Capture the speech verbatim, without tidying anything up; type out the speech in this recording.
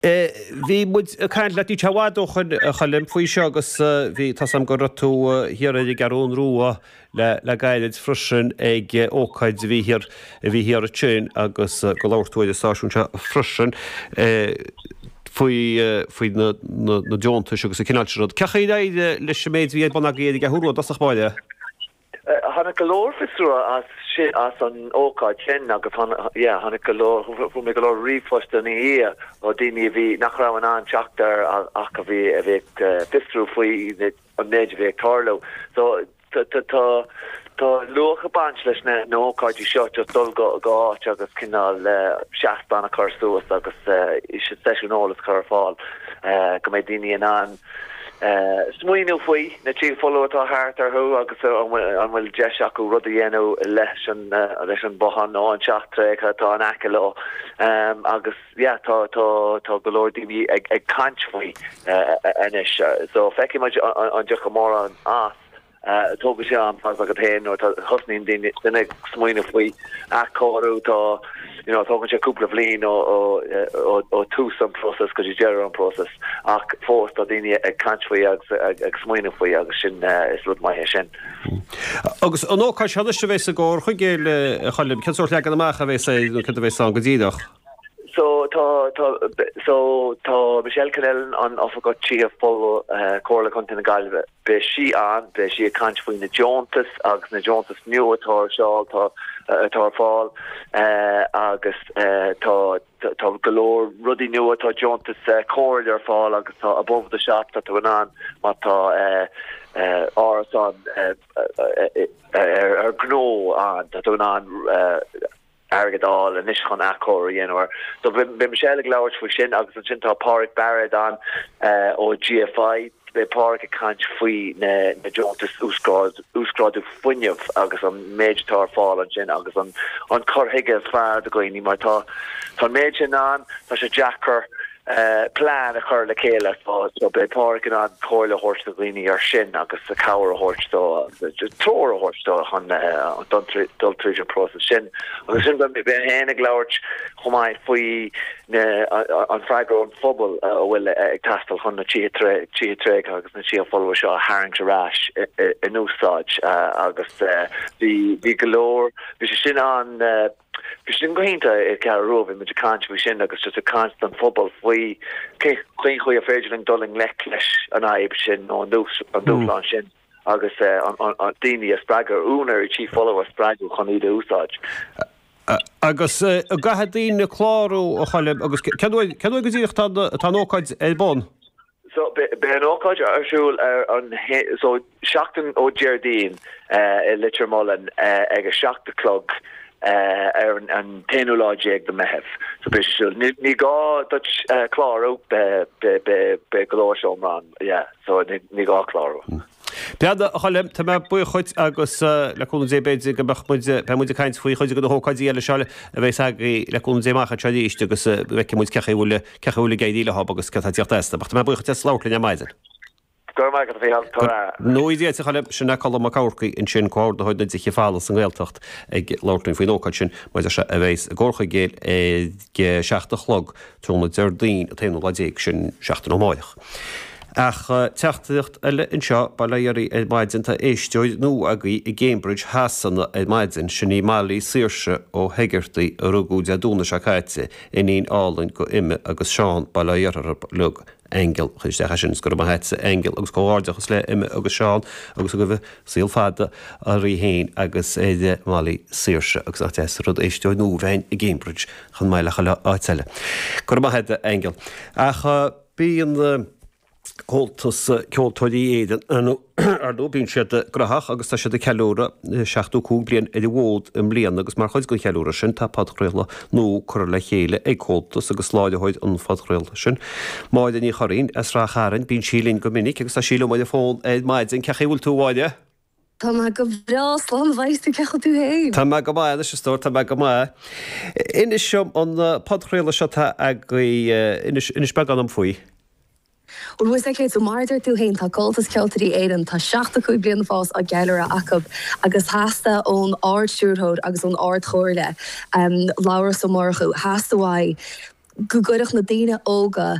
Bhí muid ag caint leat níl sé i bhfad ó shoin, a Choilm, faoi seo agus bhí, tá 's agam go raibh tú thiar ar an gCeathrún Rua le le gairid freisin ag ócáid a bhí thiar a bhí thiar ansin agus go labhair tú ar an stáisiún seo freisin faoi faoi na na deontais agus an cineál sin rud. Cén chaoi ar éirigh leis an méid a bhí ar bun agaibh ar an gCeathrú Rua i dtosach báire? Tháinig go leor fiosrú as sin, as an ócáid sin agus yeah, tháinig go leor, fuair mé go leor ríomhphost ina dhiaidh ó daoine a bhí, nach raibh in ann teacht air ach a bhí, a bhí ag fiosrú faoi an méid a bhí ag tarlú. So tá, tá, tá luach ag baint leis na, na hócáidí seo, just dul go, go áit agus cineál seastán a chur suas agus seisiún eolais a chur ar fáil go mbeidh daoine in ann Smaoineamh faoi na tithe folmha atá thart orthu agus an bhfuil deis acu rud a dhéanamh leis an leis an bhothán nó an teach tréigthe atá in aice leo. Agus yeah tá tá tá go leor daoine ag ag caint faoi anois. So feicfidh muid an dtiocfaidh mórán as. Tógann sé am, tá a fhios agat féin, nuair a thosnaíonn duine duine ag smaoineamh faoi athchóiriú, tá, you know, tógann sé cúpla bhliain ó ó ó ó tús an próiseas go dtí deireadh an próiseas ach fós tá daoine ag caint faoi agus ag ag smaoineamh faoi agus sin is rud maith é sin. Agus an ócáid seo anois a bheas i gComhar Chuigéil, a Choilm, cén sórt leagan amach a bheas air nó céard a bheas ann go díreach? So tá tá so tá Michelle Connellan an Oifigeach Tithe Folmha Comhairle Contae na Gaillimhe beidh sí ann beidh sí ag caint faoi na deontais agus na deontais nua atá ar siúl tá atá ar fáil agus tá tá go leor rudaí nua tá deontas comhairle ar fáil agus tá above the shop tá tú in ann má tá árasán ar ar gnó ann tá tú in ann airgead a fháil anois chun athchóiriú a dhéanamh air. So beidh Michelle ag labhairt faoi sin agus ansin tá Páraic Bairéad ann ó GFI. Beidh Páraic ag caint faoi na deontais uasghrádú fuinnimh agus an méid atá ar fáil ansin agus an an cur chuige is fearr do dhaoine mar tá tá an méid sin ann, tá sé deacair plean a chur le chéile so beidh Páraic in ann comhairle a thabhairt do dhaoine ar sin agus cabhair a thabhairt dó, treoir a thabhairt dó chun dul tríd an próiseas sin. Agus sin beidh mé féin ag labhairt chomh maith faoi an freagra ón phobal a bhfuil ag teastáil chun na tithe tréigthe agus na tithe folmha seo a tharraingt ar ais in úsáid agus bhí go leor, bhí sé sin an. Bhí sin go hiontach ar an gCeathrú Rua, bhí muid ag caint faoi sin agus just ag caint don phobal faoi cén chaoi ar féidir linn dul i ngleic leis an fhadhb sin nó an dúshlán sin agus daoine a spreagadh, úinéirí tí folamh a spreagadh chun iad a úsáid. Agus an gcaithfidh daoine clárú, a Choilm, agus cén uair go díreach atá an ócáid ar bun? So, beidh an ócáid ar siúl ar an, so, seachtain ó Déardaoin i Leitir Mealláin ag a seacht a chlog ar an t-aonú lá déag de Meitheamh. So beidh sé siúl. Ní gá duit clárú, beidh go leor seomra ann, yeah, so ní gá clárú. Bhuel, a Choilm, tá mé buíoch dhuit agus le cúnamh Dé b'fhéidir go mbeadh muid, beidh muid ag caint faoi chuid de na hócáidí eile seo a bheas agaibh le cúnamh Dé amach anseo arís agus feicfidh muid cén chaoi a bhfuil, cén chaoi a bhfuil ag éirí leo agus céard atá ag tíocht astu. Ach tá mé buíoch dhuit as labhairt linn ar maidin. Go raibh maith agat, a Mhícheáil. Go ngnóthaí Dia duit, a Choilm. Sin é Colm Mac Eamharcaigh ansin, comhordaitheoir na dTithe Folamh sa nGaeltacht ag labhairt linn faoin ócáid sin, mar a deir sé, a bheas i gComhar Chuigéil ag a seacht a chlog tráthnóna Déardaoin an t-aonú lá déag, sin seachtain ó amárach. Ach teachtaireacht eile anseo, bail ó Dhia oraibh ar maidin, tá éisteoir nua agaibh i gCambridge Shasana ar maidin, sin í Molly Saoirse Ó hEigeartaigh a rugadh Dé Domhnaigh seo caite, iníon álainn go Emma agus Seán, bail ó Dhia orthu uilig. Aingeal, chuir isteach é sin, is go raibh maith agatsa Aingeal agus comhghairdeachas le Emma agus Seán agus go raibh saol fada uirthi féin agus ar Molly Saoirse agus nach deas an rud éisteoir nua a bheith i gCambridge chomh maith le chuile áit eile. Go raibh maith agat Aingeal. Ach bíonn Comhaltas Ceoltóirí Éireann, ar ndóigh, bíonn siad graitheach agus tá siad ag ceiliúradh seachtó cúig bliain ar an bhfód i mbliana agus mar chuid den cheiliúradh sin tá podchraoladh nua curtha le chéile ag Comhaltas agus láithreoir an phodchraolta sin, Máire Ní Churraoin as Rath Chairn, bíonn sí linn go minic agus tá sí liom ar an bhfón ar maidin. Cén chaoi a bhfuil tú, a Mháire? Tá mé go breá, slán a bheidh tú, cén chaoi a bhfuil tú féin? Tá mé go maith anois, a stór, tá mé go maith. Inis dom an podchraoladh seo atá agaibh, inis, inis beagán dom faoi. Bhuel, bhfuil a fhios agat, so mar a deir tú féin, tá Comhaltas Ceoltóirí Éireann, tá seachtó cúig bliana fós á gceiliúradh acu agus theastaigh ón Ard-Stiúrthóir agus ón Ard-Chomhairle, Labhrás Ó Murchú, theastaigh uaidh, go gcuirfeadh na daoine óga